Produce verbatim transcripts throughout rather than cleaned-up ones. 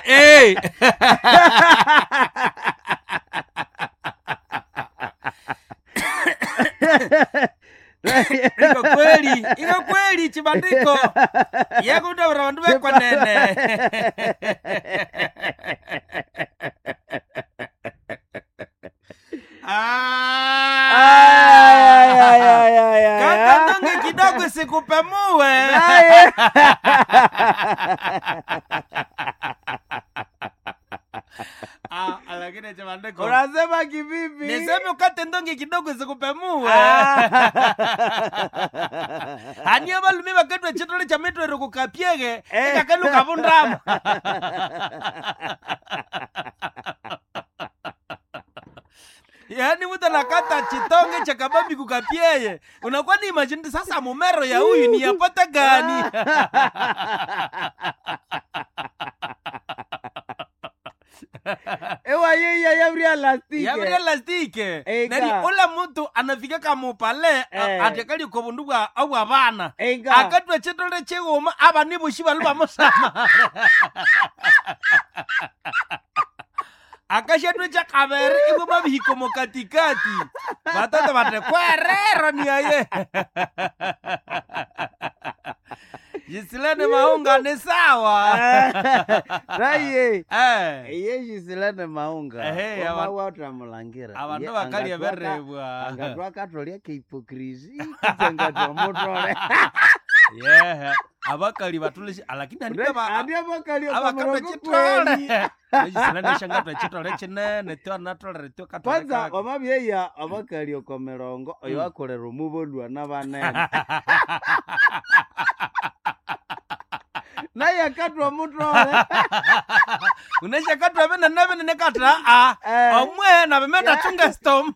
Hey! Iko kweli, iko kweli chibandiko. Yekundabira bandu bekwanene. Ah! Kaka ndonge kidogo sikupemue. Ah, lakini chibandiko. Unasema kivipi? Niseme ukate ndonge kidogo sikupemue. Haniyo balume bakatwa chitole cha mitwero kukapyege Eh. ikakaluka vundama. Yaani mtu anakata chitonge cha kabambi kukapyeye. Unakuwa ni imagine sasa mumero ya huyu ni yapata gani? Ewa yeya yabria lastike. Yabria lastike. Ega. Neri ula mtu anafika kamupale Eh. atekali ko bundu bwa abwa bana. Ega. Akatwa chitole chiguma aba nibushi balu bamusama. Akashatwe cha kabere ibo mabihiko mo katikati. Batata bate kwerero ni aye. Jisilene maunga ni sawa. Raye. Eh. Iye jisilane maunga. Ehe, aba- watamulangira. Abandu bakali eberebwa. Angatwa katolya ke hipokrisi kitsengatwa mutole. Yeah. Abakali batulishi lakini andika ba Andi abakali abakatwa chitole. Jisilene shangatwa chitole chinene twa natolere twa katole. Kwanza kake. wamabyeya abakali oko mirongo oyo Mm. akolera omubolwa n'abanene. Naye akatwa mutole. Unashakatwa bene nabene nekatra a Eh. omwe na bemenda chunga stoma.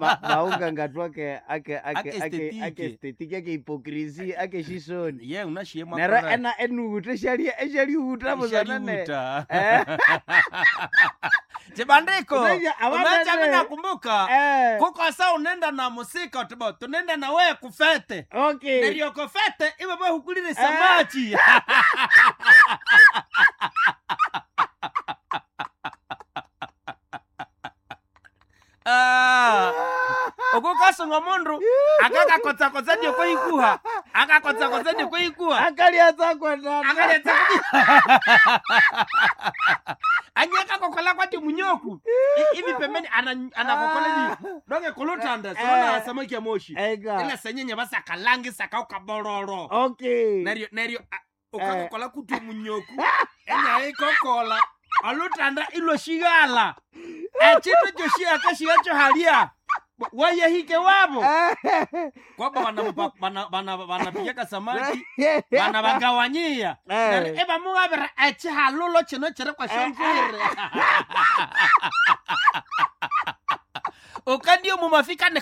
Ma- maunga ngatwake ake ake Ake ake estetike. ake estetike ake hipokrisi ake shisoni. Ye unashiye Nero ena enuhuta eshali eshalihuta buzanane. Ishalihuta. Eh. Chibandiko. Unaja, abanene. Unacha mimi nakumbuka. Eh. Kuko sa unenda na musika tubo tunenda na wewe kufete. Okay. Neryo kufete iwe bwe hukulire samachi. Ah. Okukasunga mundu akakakotsa-kotsa ndio koikuha akakotsa-kotsa ndio koikuha Akali atsakwendana. akaletsa anyakakokola kwati munyoku I- ivi pembeni ana- anakokola hivi donge kulutanda siona Eh. samaki ya moshi Ega. ila senyenye basakalangi sakaukabororo Okay. neryo neryo a- ukakokola kuti munyoku enya ikokola olutanda ilwoshigala echindu kyoshiyakashiga kyohalya wayehike wabo Eh. kwaba banapigaka samaki bana bagawanyia Eh. Neryo ibamugabira echihalulo chino chiri kwashonzwire ukandio mumafika ni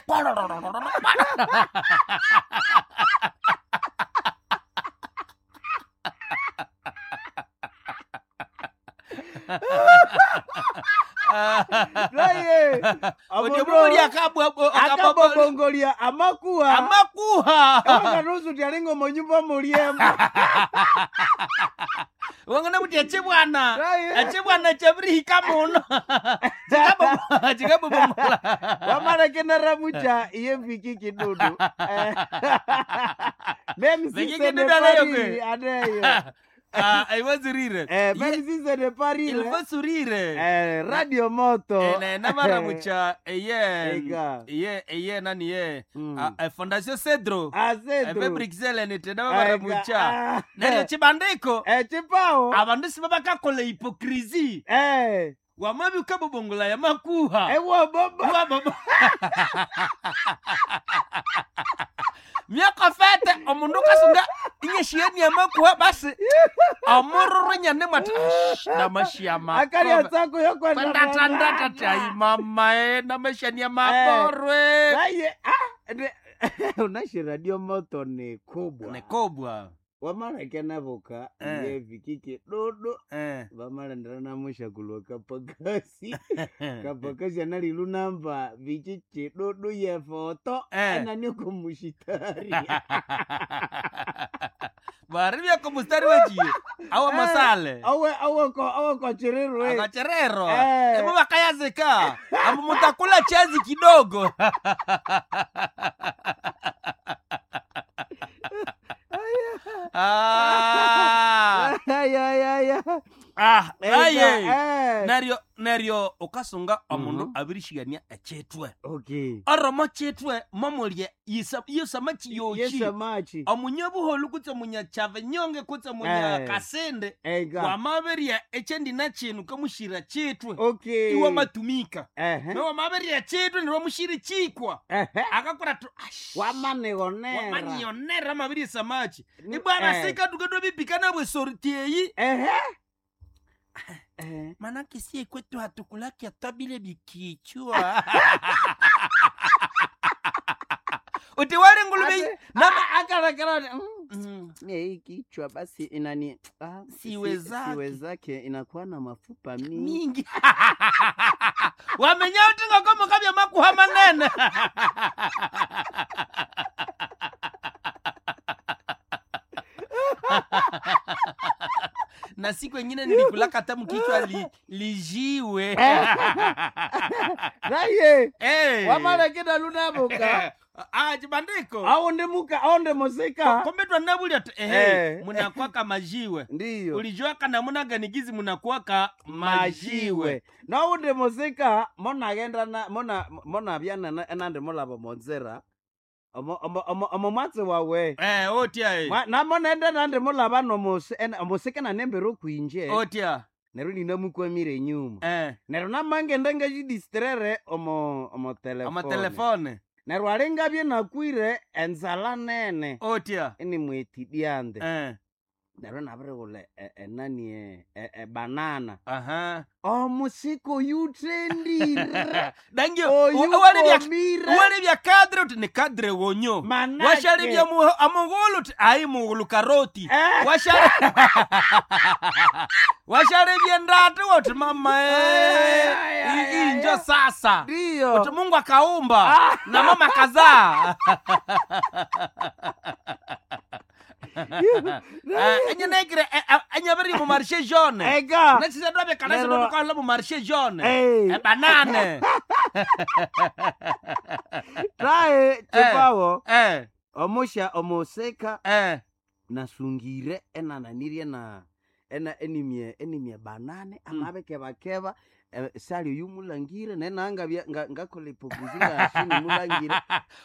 Raye. Odio mumuli akabwa akabobongolia amakuha. amakuha Ewakanusu tyalinga omunyumba mulyemu. wangana kuti echibwana Raye. echibwana chabirihika muno Chikabo- chikabobomola Wamalekenera mucha iye viki kidudu. Eh. Même si Viki ce n'est kidudu pas anayo rire, kwe. aneyo. Ah, aiwazirire Eh, même si ce n'est pas rire. il faut sourire Eh, Radio Moto. ene navaramucha eye Ega. iye eye nani ye Mm. Ah, eh, fondation cedro Ah, epe Cedro. bruxelles nite Ega. navavaramucha Ah. neryo chibandiko Eh, chipao. abandu siba bakakola hipokrisi Eh. wamabi ukabobongola ya makuha Ewa baba. Wa baba myaka fete omundu kasunga inyeshieni ya makuha basi omururu nyane mwati namashiama Akali atsako yokwenda. kwendatandatatai mama e namashania maborwe Raye. Ah, ne- Unashi Radio Moto ni kubwa. nikobwa Wamalekenevuka Eh. iye viki kidudu. Eh. Vamalendera namushakulwa kapakasi. Kapakasi analilu namba viki chidudu ye foto. Eh. Enani kumushitari. Baribya ko mustari wechiyo awa masale awe awe awe kochirirwe akacherero Eh. ebo bakayazika ambu mutakula chazi kidogo. Ah, ya ah, aye eh neryo neryo ukasunga omundu Mhm. abirishigania echitwe okay oromo chitwe momulye yisa- yisama chiyochi yesamachi omunyabuholu kutse omunyakyava nyonge kutse omunya Eh. kasende ega wamabirya ekyendina chinu kamushira chitwe okay iwe matumika ehe nowamabirya chitwe neryo chikwa ehe akakora tu ash, wamanionera wamanyionera amabirya samachi Ni- ibwana eh. sika tukendwa bipikana bwesorti eyi ehe Eh. manake sie kwetu hatukulaki hata bile bikichwa uti wale nguluve Ate- nama Ah, akarakara mm. Mm. Mie hii kichwa basi inani ah, si- Siwezake. siwezake inakuwa na mafupa mingi mingi wamenya uti ngokomo kabya makuha manene. Na siku ingine nilikulaka tamu kichwa li, lijiwe. Naye hey. wamalekeda lunabuka Ah, chibandiko aundi muka aundi musika kombe twanabulya tu ehe Eh. munakwaka majiwe ndiyo ulijuaka namuna gani gizi munakwaka majiwe majiwe naundi musika monagenda na mona monabya nana- enandi mulaba monzera omo omo- omo omo mwatsi wawe eh otya eh. Mwa- namonende nandi mulaba nomusi ena- omusika nanembere okwinje Otya neryo ninamukwamire enyuma eh neryo namangende ngajidistrere omo omo telefone amatelefone neryo alingabye nakwire enzala nene otya inimwetidyande eh neryo nabirighula e- enani e- e- ebanana aha omusika oyuthendire dangio walibya oyukomire walibya kadre uti ni kadre wonyo manake washalibya mu- amungulu uti ayi mungulu karoti Eh. washali washalibya ndati uti mama eh, Ay, ay, ay, hii njo ay. sasa uti ndiyo mungu akaumba na mama kazaa. Enyenaikire enyabiri mu marshe jaune ega nasisedwabe Lero- kanasidotukahola mu marshe jaune Eh. ebanane tae chipawo eh omusha omusika eh nasungire enananirie na ena enimye enimye banane amabekebakeba eh, sali oyu mulangire nenangabya ngakola ipokuzi ngashini mulangire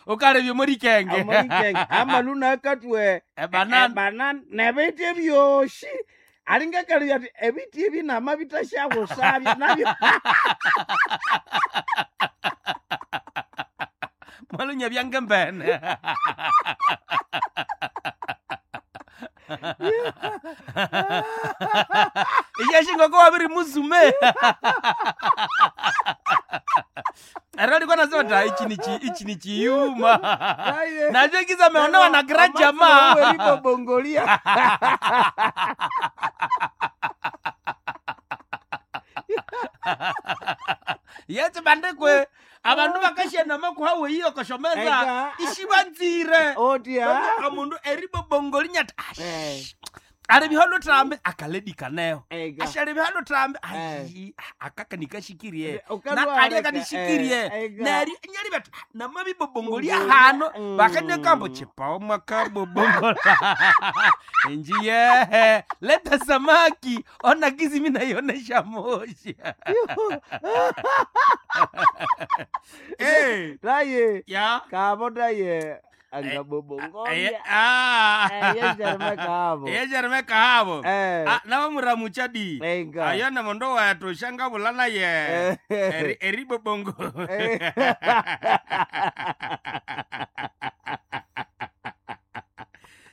ukalebye muri kenge amorikenge amaluna akatwe ebanane banane nebiti ebyoshi alingakalibya ati ebiti ebi namabitashakusabya nabyo mwalunya byangembene iyashingoko wabiri muzume ero likuwa nasema ta ichi ni chi ichi ni chiyuma Naye. nacho kiza meonewa na gra jamaa Eribobongolia yetse bandekwe abandu bakashenda makuhawe iyo koshomeza Eka. ishibanzire otya omundu eribobongoli nyati Eh. ari bihalo trambe akaledikaneho Ega. ashali bihalo trambe Eh. ayi akakanikashikirie Ukalwa nakalia aleka, kanishikirie eh, ega. neri nyali bati namabibobongolia Bongolia, hano mm. bakanyakambo chipao mwakabobongola enjiyehe leta samaki ona gizi minaionesha moshi. Eh, taye ya kabo taye Eh, angabobongolia ah. yejerime kabo yejerime kahabo Eh. Ah, navamuramucha di Enga. ayona mondo wayatosha ngavula naye Eh. Eri- eribobongo Eh.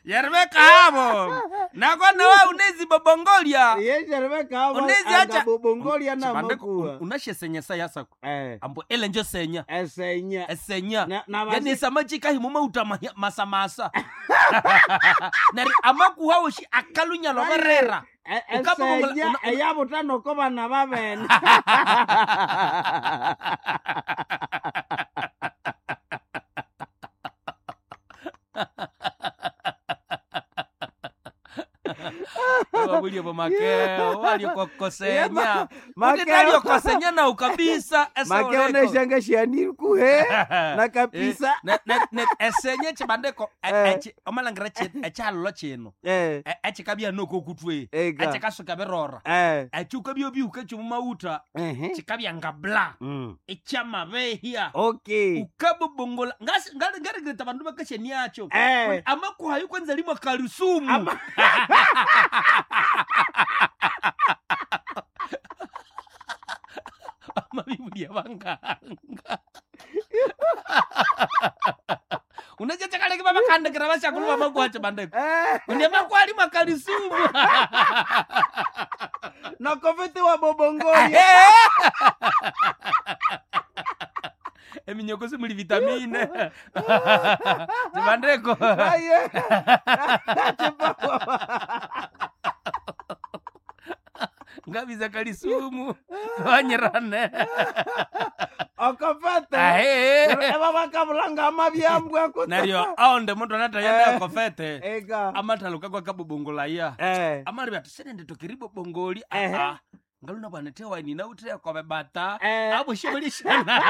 yerime kahabo nakona wa unezibobongolia yejerime kabo Unezi acha- angabobongolia Chibandeko, namakuwa un- unashesenyesa yasako Eh, ambo ele njo senya esenya esenya Na- na yani basi- samachikahi mumauta masamasa nari amakuhawoshi akalunya loverera E- Ukabobongola- esenya una- una- eyabutano bana babene bo makeo waliokokosenya Ma- Makeo. utetaliokosenye nau kabisa Makeo neshanga shianirikuhe na kabisa esenye chibandeko Eh. omalangira ekyalolo kino eh E- ekikabya nokokutwe Ega. ekikasuka birora eh ekyukabya obihuka kyomumawutha ehe kikabya nga bla Mm. ekyamabehya Okay. ukabobongola ngarigreta bandu bakashaniacho Eh. amakuhayo kwanza limwa kalisumu Ama- amabibulia banganga unachachakaleke vamakandikira vashakulu vamakuhacho bandeko Eh undi amakuha limwa kalisumu nakofete wa bobongolia. eminyoko simuli vitamine zibandeko Aye. Chipawa. ngabiza kalisumu vanyirane Okofete. ahe Eva bakabulanga amabyambwa kutse. naryo aonde mundu anatayenda kofete Ega. amathaluka kwakabobongolaya Eh. amalibe ati senenditokeri bobongoli Ehe. aa ngaluna bwana tewaini nauteya kobe bata Eh. aboshibolishana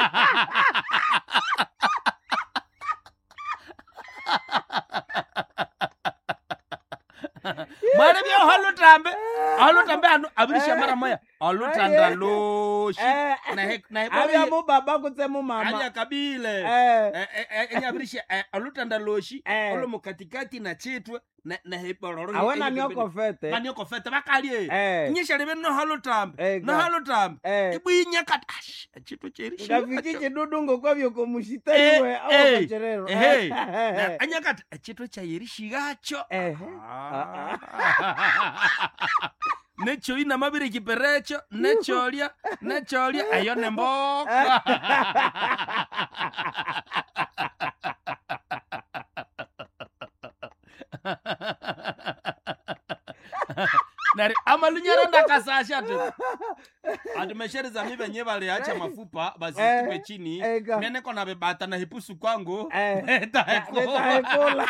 mwana bya halutambe halutambe hanu abirisha mara moya alutanda loshi Eh. nahe nahe Abya mu baba kutse mu mama. alya kabile Eh. enyabirisha alutanda loshi Eh. olo mukatikati na chitwe nahebororo Awena niokofete. vaniokofete vakalye Eh. nyishaleve nohalutambe Eh, ga. nohalutambe Eh. ibwinyakati ash echitwe Ngafiki chidudu ngokwabyo Eh, komushitaiwe eh, awokocherero. anyakati echitwe chayerishigacho Ehe. nechoyi namabiri kiperecho necholya necholya eyo nemboka nari amalunyara ndakasasha ati ati meshereza mi venye valiacha mafupa vasitupe Eh, chini ega. meneko na vibata na hipusu kwangu Eh. Netaekula. Netaekula.